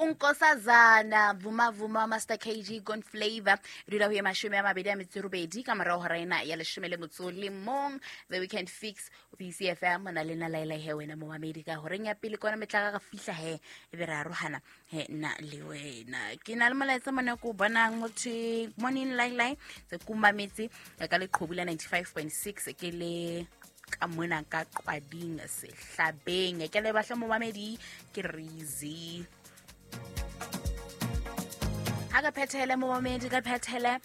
Unkosazana Vuma Vuma Master KG Gon Flavor dula ho ye 28 ka morao hora ena ya 11 The Weekend Fix o PCFM mona le na laela he wena momamedi ka horeng ya pele kona metla ga fihla he e be re arohana he nna le wena ke na le molaetsa mona ko bonang motho morning lailai tse kumametse ka leqhubu la 95.6 ke le ka mona ka qwading sehlabeng ke le batla momamedi ke Rizi ha ka phethele momamedi ka phethele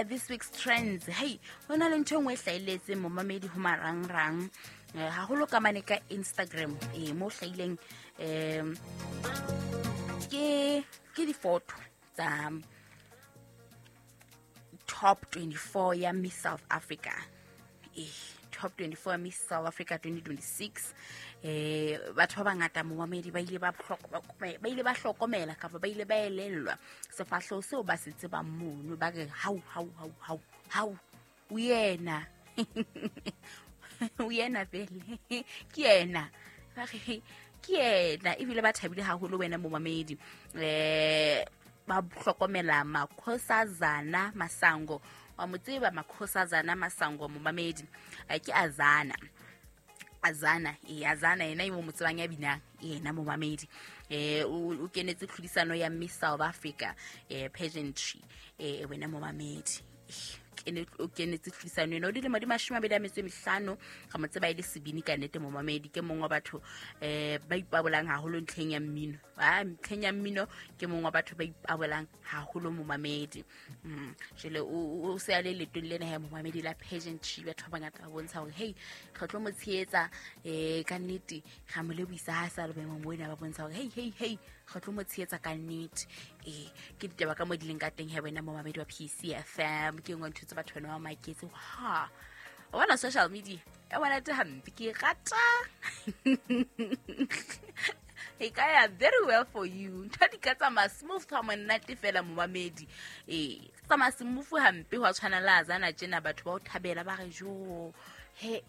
this week's trends. Hey, ho na le ntho e nngwe e hlahelletseng momamedi ho marangrang haholo ka mane ka Instagram mo hlahileng ke difoto tsa top 24 ya Miss South Africa. Top 24 Miss South Africa 2026. Batho ba bangata momamedi ba ile ba hlokomela kapa ba ile ba elellwa sefahleho seo ba se tsebang mono, ba re hau hau hau hau hau o yena o yena vele ke yena, ba re ke yena, ebile ba thabile haholo wena momamedi. Ba hlokomela Makhosazana Masango, wa mo tseba Makhosazana Masango momamedi, ke Azana Azana yena e mo motsebang ya binang yena momamedi. O kenetse tlhodisano ya Miss South Africa pageantry wena momamedi o kenetse tlhodisano ena o dilemo di 25 ga mo tseba e le sebini ka nnete momamedi. Ke mongwe wa batho ba ipabolang haholo ntlheng ya mmino, ntlheng ya mmino ke mongwe wa batho ba ipabolang haholo momamedi. Jwale o se a le letong lena ya momamedi la pageantry, batho ba bangata ba bontsha hore hey re tlo mo tshehetsa ka nnete, ra mo lebohisa ha sa le boemong bona, ba bontsha hore hey hey hey re tlo mo tshehetsa ka nnete. Ke ditaba ka mo di leng ka teng he wena momamedi wa PCFM, ke nngwe ntho tse batho bana ba maketse ha o bona social media e bona te hampe ke rata e ka ya very well for you. Ntho di ka tsamaya smooth ha monate fela momamedi, tsamaya smooth hampe hwa tshwana le Azana tjena, batho ba o thabela ba re jo he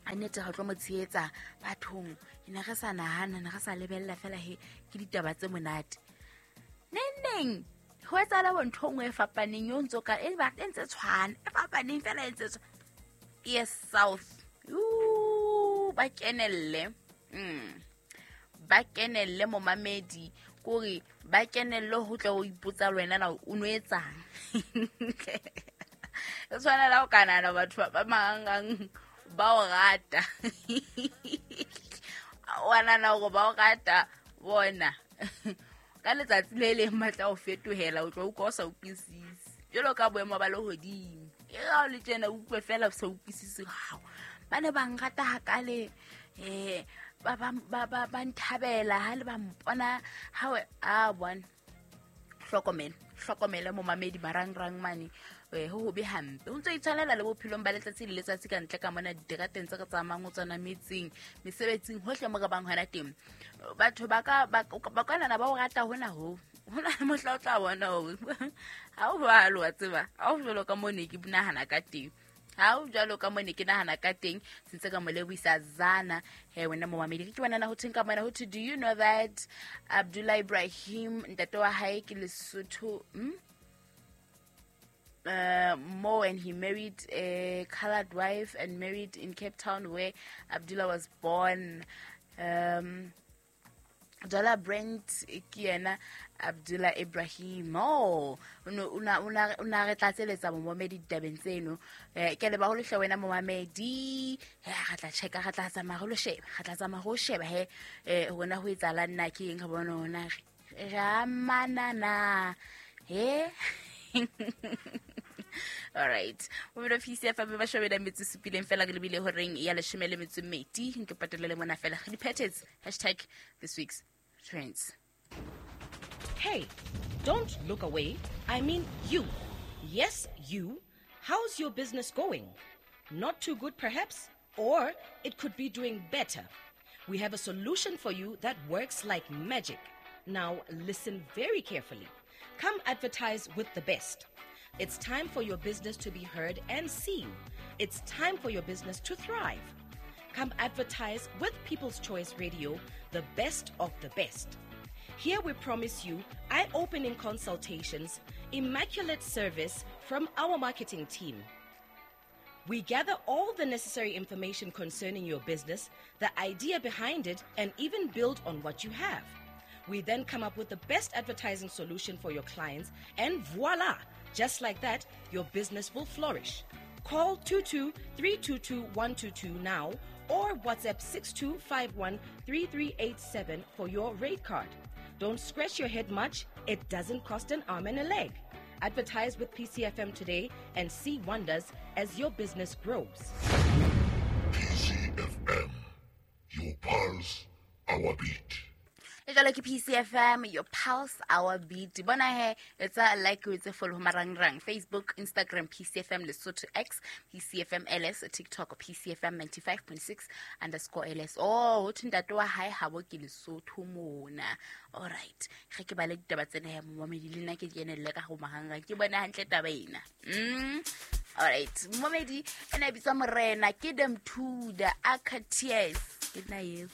a nnete re tlo mo tshehetsa bathong, ne re sa nahana ne re sa lebella fela he ke ditaba tse monate. Neng ho etsahala bo ntho nngwe e fapaneng yo ntso ka e ba e ntse tshwana e fapaneng fela e ntse tshwana. Yes South ba kenelle ba kenelle momamedi, kore ba kenelle ho tla o ipotsa le wena na o no etsang. E tshwana la o ka nahana batho ba mangang ba o rata wa nahana hore ba o rata bona ka letsatsi le leng matla o fetohela o tlo utlwa o sa utlwisise jwalo ka boemo ba lehodimo. E ga o le tjena o utlwe fela o sa utlwisise, hao ba ne ba nrata hakale ba nthabela ha le ba mpona ha a bona. Hlokomele momamedi marangrang mane ho hobe hampe, o ntso itshwanela le bophelong ba letsatsi le letsatsi ka ntle ka mona diterateng tse re tsamayang ho tsona metseng mesebetsing hohle mo re bang hona teng. Batho ba ka nana ba o rata hona ho hona mohla o tla bona hore ha o jwalo wa tseba, ha o jwalo ka mo ne ke nahana ka teng, ha o jwalo ka mo ne ke nahana ka teng. Sentse ka mo lebohisa Zana he wena momamedi. Ke bona na ho theng ka mona ho thwe, do you know that Abdullah Ibrahim ntate wa hae ke Lesotho Mo, and he married a colored wife and married in Cape Town where Abdullah was born. Dollar Brent ke yena Abdullah Ibrahim. Oh, una re tlatseletsa momamedi ditabeng tseno. Ke leba ho lehle wena momamedi. Re tla checka, re tla tsamaya ho sheba, re tla tsamaya ho sheba he hona ho etsahala nna ke eng, re bona hona re amana na he. All right. Mo be fisi fa ba shobela metsi supileng fela ke lebile horeng ya 12 nke patelele mona fela di patterns #this week's trends. Hey, don't look away. I mean you. Yes, you. How's your business going? Not too good perhaps, or it could be doing better. We have a solution for you that works like magic. Now listen very carefully. Come advertise with the best. It's time for your business to be heard and seen. It's time for your business to thrive. Come advertise with People's Choice Radio, the best of the best. Here we promise you eye opening consultations, immaculate service from our marketing team. We gather all the necessary information concerning your business, the idea behind it, and even build on what you have. We then come up with the best advertising solution for your clients, and voila! Just like that, your business will flourish. Call 22 322 122 now or WhatsApp 6251 3387 for your rate card. Don't scratch your head much, it doesn't cost an arm and a leg. Advertise with PCFM today and see wonders as your business grows. PCFM, your pulse, our beat. E jalo ke PCFM, your pulse, our beat. Bona he, etsa like, o etse follow marangrang: Facebook, Instagram, PCFM Lesotho, X, PCFM LS, TikTok, PCFM 95.6_LS. Oh, ho thwe ntate wa hae habo ke Lesotho mona. Alright, ge ke bale ditaba tsena ya momamedi, le nna ke kenelle ka go marangrang, ke bone hantle taba ena. Alright, momamedi, ena e bitswa Morena ke Demthuda Akatears, ke nna eo.